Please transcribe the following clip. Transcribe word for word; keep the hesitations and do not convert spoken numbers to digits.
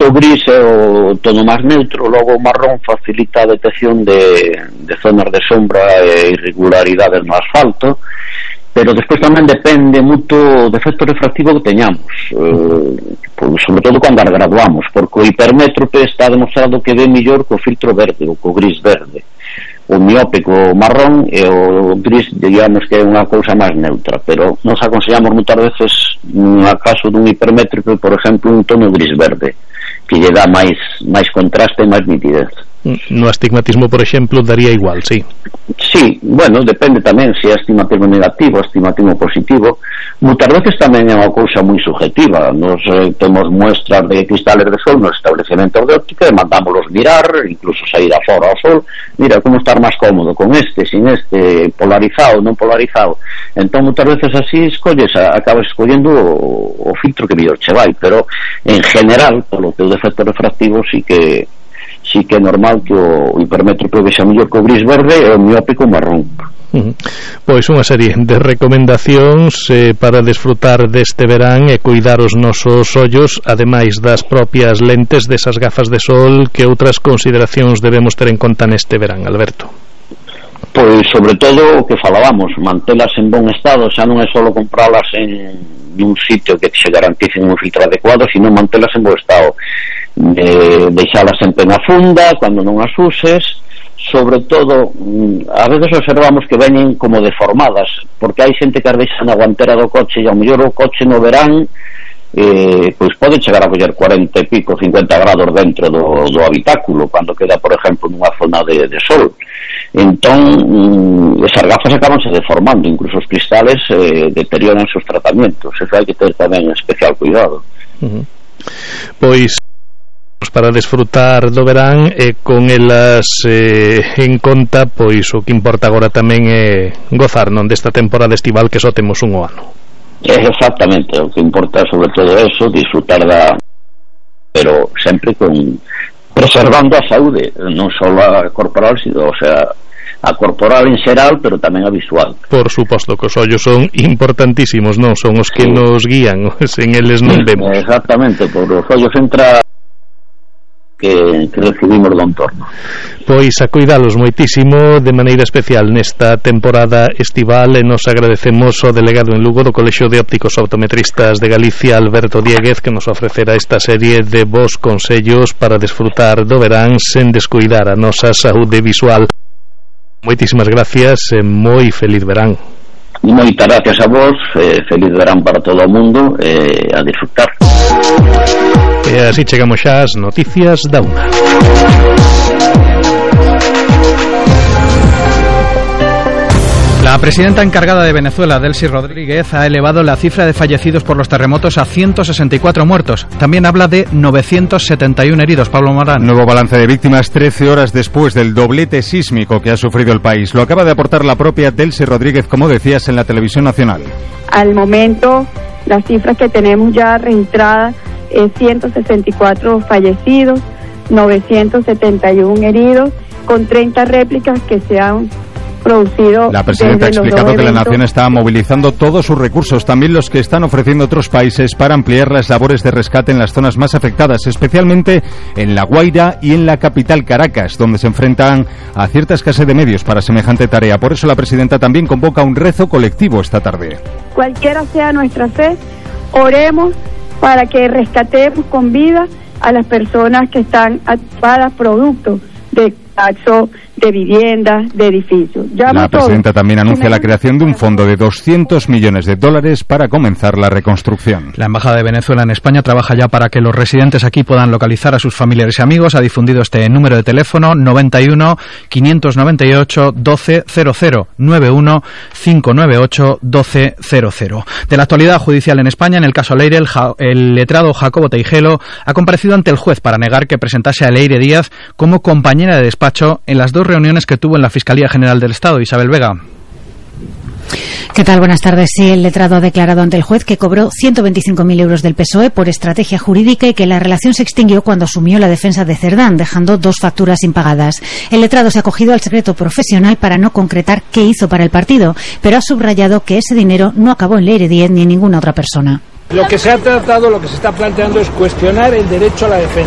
O gris é o tono máis neutro, logo o marrón facilita a detección de, de zonas de sombra e irregularidades no asfalto, pero despois tamén depende moito do efecto refractivo que teñamos, eh, pues, sobre todo cando as graduamos, porque o hipermétrope está demostrado que ve mellor co filtro verde ou co gris verde. O miópico marrón e o gris, digamos que é unha cousa máis neutra, pero nos aconsellamos moitas veces, no caso dun hipermétrico, por exemplo, un tono gris verde, que lle dá máis máis contraste e máis nitidez. No astigmatismo, por exemplo, daría igual, sí? Sí, bueno, depende tamén se é astigmatismo negativo, astigmatismo positivo. Moitas veces tamén é unha cousa moi subjetiva. Nos eh, temos muestras de cristales de sol nos establecementos de óptica e mandámoslos mirar, incluso sair afora ao sol. Mira, como estar máis cómodo con este, sin este, polarizado, non polarizado. Entón, moitas veces así escolles, acabas escollendo o, o filtro que mellor che vai, pero en general, polo teu defecto refractivo, sí que sí que é normal que o hipermétrope vexa mellor co gris verde e o miópico marrón. Uh-huh. Pois unha serie de recomendacións eh, para desfrutar deste verán e cuidar os nosos ollos, ademais das propias lentes desas gafas de sol. Que outras consideracións debemos ter en conta neste verán, Alberto? Pois sobre todo o que falábamos, mantelas en bon estado, xa non é só compralas en un sitio que se garantice un filtro adecuado, sino mantelas en bo estado, de deixalas sempre na funda cando non as uses. Sobre todo, a veces observamos que veñen como deformadas, porque hai xente que as deixa na guantera do coche, e ao mellor o coche no verán eh, pois pode chegar a coller cuarenta e pico, cincuenta grados dentro do, do habitáculo, cando queda, por exemplo, nunha zona de, de sol. Entón, mm, esas gafas acabanse deformando, incluso os cristales eh, deterioran seus tratamientos. Eso hai que ter tamén especial cuidado. Uh-huh. Pois para desfrutar do verán e con elas eh, en conta, pois o que importa agora tamén é gozar, non, desta temporada estival que só temos un o ano. Exactamente, o que importa sobre todo eso, disfrutar da, pero sempre con preservando a saúde, non só a corporal, sino, o sea, a corporal en xeral, pero tamén a visual. Por suposto que os ollos son importantísimos, non? Son os que sí nos guían, sen eles non vemos. Exactamente, por os ollos entra que, que recibimos do entorno. Pois a cuidalos moitísimo, de maneira especial nesta temporada estival, e nos agradecemos ao delegado en Lugo do Colexio de Ópticos Optometristas de Galicia, Alberto Dieguez, que nos ofrecerá esta serie de vos consellos para desfrutar do verán sen descuidar a nosa saúde visual. Moitísimas gracias e moi feliz verán. Moitas gracias a vos, eh, feliz verán para todo o mundo, eh, a disfrutar. E así chegamos xa ás noticias da unha. La presidenta encargada de Venezuela, Delcy Rodríguez, ha elevado la cifra de fallecidos por los terremotos a ciento sesenta y cuatro muertos. También habla de novecientos setenta y uno heridos. Pablo Morán. Nuevo balance de víctimas trece horas después del doblete sísmico que ha sufrido el país. Lo acaba de aportar la propia Delcy Rodríguez, como decías, en la televisión nacional. Al momento, las cifras que tenemos ya registradas es ciento sesenta y cuatro fallecidos, novecientos setenta y uno heridos, con treinta réplicas que se han producido. La presidenta ha explicado que la nación está movilizando todos sus recursos, también los que están ofreciendo otros países, para ampliar las labores de rescate en las zonas más afectadas, especialmente en La Guaira y en la capital Caracas, donde se enfrentan a cierta escasez de medios para semejante tarea. Por eso la presidenta también convoca un rezo colectivo esta tarde. Cualquiera sea nuestra fe, oremos para que rescatemos con vida a las personas que están atrapadas producto de colapso de viviendas, de edificios. Llamo la presidenta también anuncia la creación de un fondo de doscientos millones de dólares para comenzar la reconstrucción. La Embajada de Venezuela en España trabaja ya para que los residentes aquí puedan localizar a sus familiares y amigos. Ha difundido este número de teléfono: noventa y uno, quinientos noventa y ocho, doce cero cero, noventa y uno, quinientos noventa y ocho, doce cero cero. De la actualidad judicial en España, en el caso Leire, el, ja, el letrado Jacobo Teijelo ha comparecido ante el juez para negar que presentase a Leire Díaz como compañera de despacho en las dos reuniones que tuvo en la Fiscalía General del Estado. Isabel Vega. ¿Qué tal? Buenas tardes. Sí, el letrado ha declarado ante el juez que cobró ciento veinticinco mil euros del P S O E por estrategia jurídica y que la relación se extinguió cuando asumió la defensa de Cerdán, dejando dos facturas impagadas. El letrado se ha acogido al secreto profesional para no concretar qué hizo para el partido, pero ha subrayado que ese dinero no acabó en Leire Díez ni en ninguna otra persona. Lo que se ha tratado, lo que se está planteando es cuestionar el derecho a la defensa.